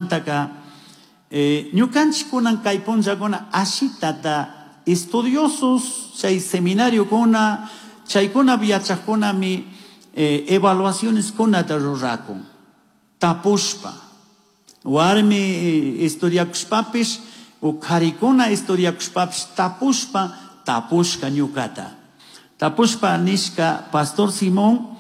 Chaymantaka ñukanchikkunan kay punllakuna ashitata estudiosos chay seminariokuna chaykunapi yachaqkunami evaluacioneskunata rurakun tapushpa warmi estudiakushpapish o karikuna estudiakushpapish tapushpa tapushka ñukata tapushpa nishka Pastor Simón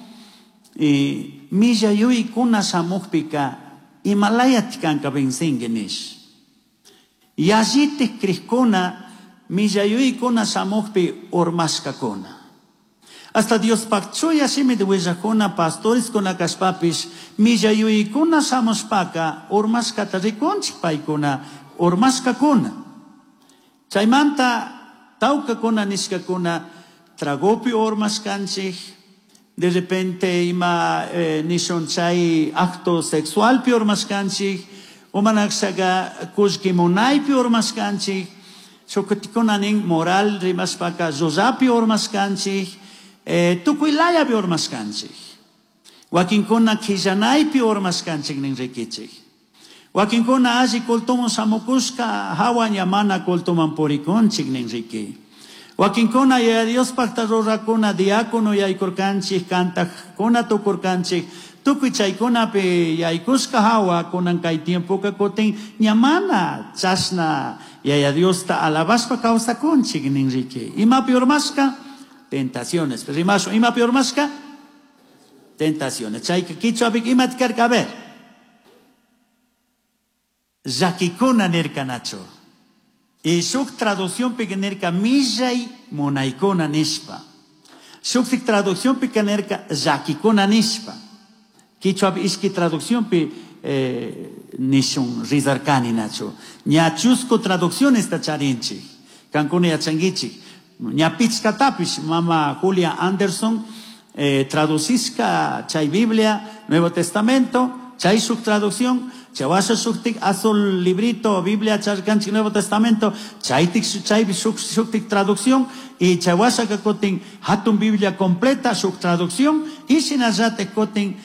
millayuykuna shamukpika imalayati kanka vencinki nish yallitik crikuna millayuykuna shamukpi urmashkakuna hasta Diospaq chuya shimita willakuna pastoreskuna kashpapish millayuykuna shamushpaka urmashkata rikunchik paykuna urmashkakuna chaymanta tawkakuna nishkakuna tragopi urmashkanchik de repente ima nishun chay acto sexualpi urmashkanchik umanakshaka kullki munaypi urmashkanchik shukutikuna nin moral rimashpaka llullapi urmashkanchik tukuy layapi urmashkanchik wakinkuna qillanaypi urmashkanchik nin rikichik wakinkuna alli cultuman shamukushka hawa ña mana cultuman purikunchik nin riki wakinkuna Yaya Diospaqta rurakuna diácono yaykurkanchik kantaqkuna tukurkanchik tukuy chaykunapi yaykushka hawa kunan kay tiempoka kutin ña mana chashna Yaya Diosta alabashpa kawsakunchik nin riki imapi urmashka tentaciones rimashun imapi urmashka tentaciones chayka kichwapika imata karka a ver llakikuna nirkanachu y shuk traduccionpika nirka millay munaykuna nishpa shuktik traduccionpika nirka llakikuna nishpa kichwapi ishki traduccionpi nishun rizarkani nachu ña chusku traduccionesta charinchik kankuna yachankichik ña pichkatapish mama Julia Anderson traducishka chay Biblia Nuevo Testamento chay shuk traducción chawasha shuktik azul librito Biblia charkanchik Nuevo Testamento chaytik chaypi shuk shuktik traducción y chawashaka kutin hatun Biblia completa shuk traducción y shinallatik kutin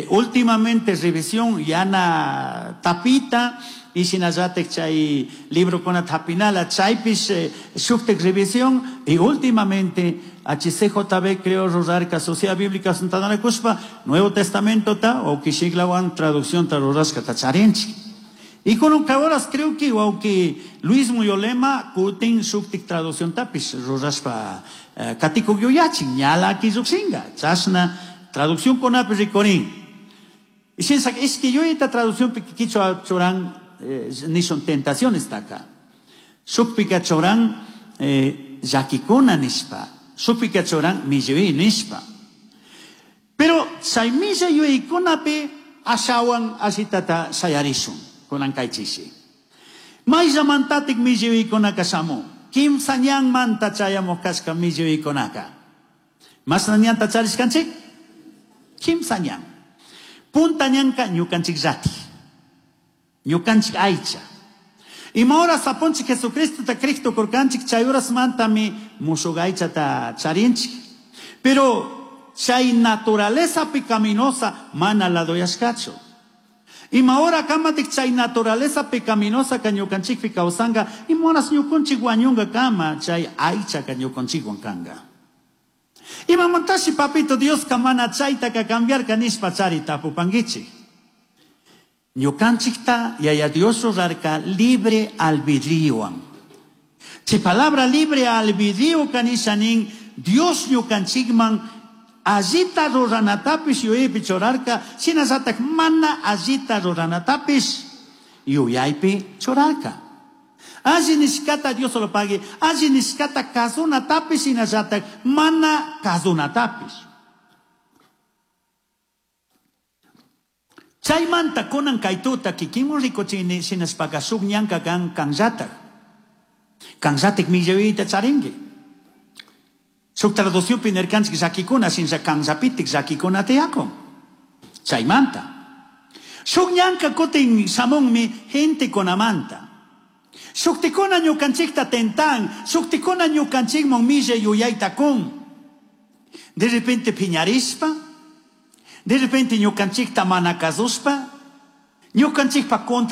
últimamente revisión yana tapita y shinallatik chay librokuna tapinala chaypish shuktik revisión y últimamente HCJB creo rurarka Sociedad Bíblica Santana Nuevo Testamento ta o kishiklawan traducción ta rurashka ta charinchik y con un horas creo que aunque Luis Muyolema kutin shuktik traducción tapish rurashpa katikuk yuyachin ñala killuksinga chashna traducción kunapi rikurin y shinsak es que yuyita traducción kichwa churan nishun tentaciones taka shukpika churan llakikuna nishpa shukpika churan milluy nishpa pero chay millayuykunapi ashawan ashitata shayarishun kunan kaychishi mayllamantatik milluykunaka shamun kimsa ñanmanta chayamuq kashka milluykunaka mashna ñanta charishkanchik kimsa ñan punta ñanka ñukanchik llati ñukanchik aycha ima horas apunchik Jesucristota criktu kurkanchik chay horasmantami mushuk aychata charinchik pero chay naturaleza pecaminosa mana ladoyashkachu ima hora kamatik chay naturaleza pecaminosa ka ñukanchikpi kawsanka ima horas ñukunchik wañunka kama chay aychaka ñukanchikwan kanka imamantashi papito Dioska mana chaytaka cambiarka nishpa chari tapupankichik ñukanchikta Yaya Dios rurarka libre albedríowan chay palabra libre albedrío kanisha nin Dios ñukanchikman allita ruranatapish yuyaypi churarka shinallatak mana allita ruranatapish yuyaypi churarka alli nishkata Dios lo pague alli nishkata kasunatapish shinallatak mana kasunatapish chaymanta kunan kaytuta kikinmun rikuchini shinashpaka shuk ñanka kan kanllatak kanllatik millayuyta charinki shuk traduccionpi nirkanchik llakikuna shinlla kanllapitik llakikuna tiyakun chaymanta shuk ñanka kutin shamunmi gentekunamanta shuktikuna ñukanchikta tentan shuktikuna ñukanchikman millay yuyayta kun de repente piñarishpa de repente ñukanchikta mana kasushpa ñukanchikpa contra.